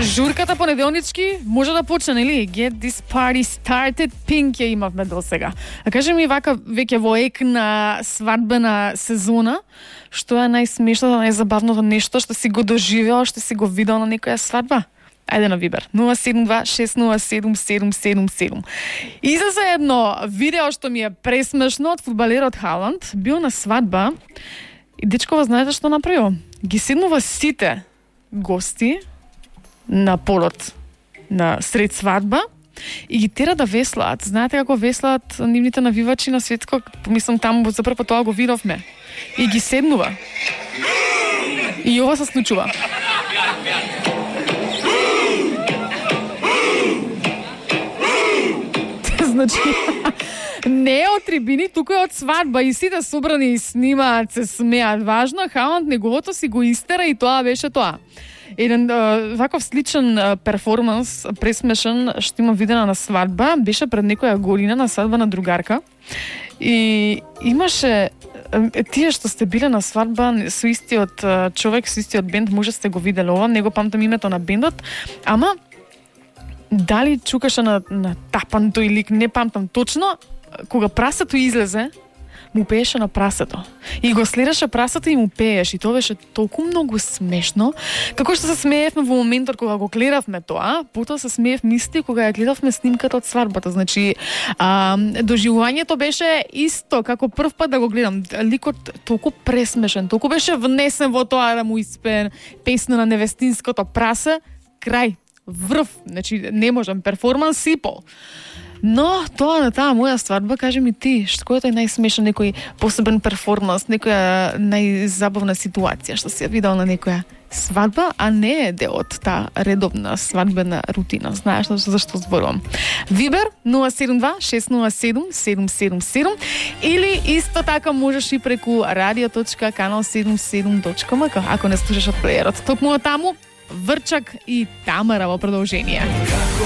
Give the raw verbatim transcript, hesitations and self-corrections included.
Журката понеделнички може да почне, нели? Get this party started, Pink ја имавме до сега. А кажи ми вака веќе во ек на свадбена сезона, што е најсмешното, најзабавното нешто што си го доживеал, што си го видел на некоја свадба? Ајде на Вибер. нула седум два шест нула седум седум седум седум. И за се едно видео што ми е пресмешно од фудбалерот Халанд, бил на свадба и дечкова знаете што направил? Ги седнува сите гости на полот на сред свадба и ги тера да веслаат. Знаете како веслаат нивните навивачи на светско? Помислам таму за прв пат тоа го видовме. И ги седнува. И ова се случува. Значи, не од трибини, туку е од свадба и сите собрани и снимаат, се смеат. Важно, Халанд неговото си го истера и тоа беше тоа. Еден ваков сличен перформанс, пресмешен, што има видена на свадба, беше пред некоја година на свадба на другарка. И имаше тие што сте биле на свадба со истиот човек, со истиот бенд, може сте го виделе ова, не го памтам името на бендот, ама дали чукаше на, на тапан тој лик, не памтам точно, кога прасето излезе, му пееше на прасето. И го следеше прасето и му пееше. И тоа беше толку многу смешно. Како што се смеевме во моментот кога го гледавме тоа, потоа се смеевме исти кога ја гледавме снимката од свадбата. Значи, а, доживувањето беше исто, како прв пат да го гледам. Ликот толку пресмешен, толку беше внесен во тоа да му испее песна на невестинското прасе, крај. Врв, значи не можам, перформанс сипол. Но тоа на таа моја свадба, кажи ми ти, што е најсмешен некој посебен перформанс, некоја најзабавна ситуација што си ја видел на некоја свадба, а не е дел од таа редовна свадбена рутина. Знаеш зашто зборувам? Вибер нула седум два шест нула седум седум седум седум или исто така можеш и преку радио точка канал седумдесет и седум точка ем ка ако не слушаш од плеерот. Токму таму Врчак и Тамара во продолжение.